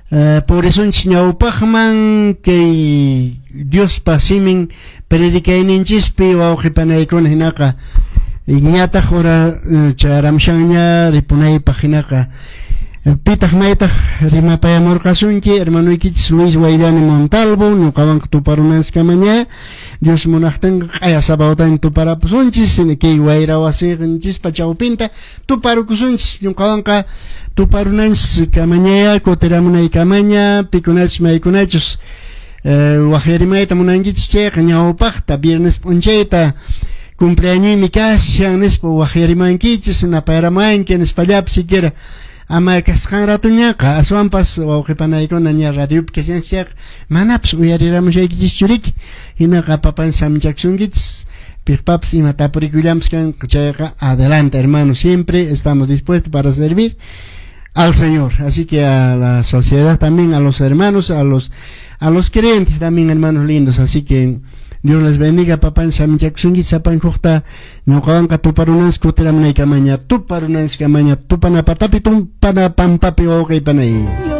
Purisunchis ñawpaqman kay Diospa simin predicayninchispi wawqi panaykuna hinaqa ñataq hora chayaramushanña ripunaypaq hinaqa pitaq maytaq rimapayamurqasunki hermanoykichis Luis Wayllani Montalvo ñuqawanqa tuparunanskamaña Dios munaqtinqa q'aya sabadotani tuparapusunchis kay wayra wasinchispa chawpinta tuparukusunchis ñuqawanqa tuparunanchis kamañaya kutiramunaykamaña pikunachus maykunachus waqyarimayta munankichis chayqa ñawpaqta viernes p'unchayta cumpleañoymi kashan nispa waqyarimankichis napayaramanki nispallapas siquiera ama kasqan ratuñaqa aswanpas wawqipanaykuna ña radiopi kashanchis chayqa manapas uyariramushaykichis riki hinaqa papan samchakusunkichis piqpapas ima tapurikuyllapas kanqa chayqa adelante, hermano, siempre estamos dispuestos para servir al Señor. Así que a la sociedad también, a los hermanos, a los creyentes también, hermanos lindos. Así que Dios les bendiga, papan samchakusunkichis sapankuqta ñuqawanqa tuparunanchis kutiramunaykamaña tuparunanchis kamaña tupana patapi tumpana pampapi wawqi panay.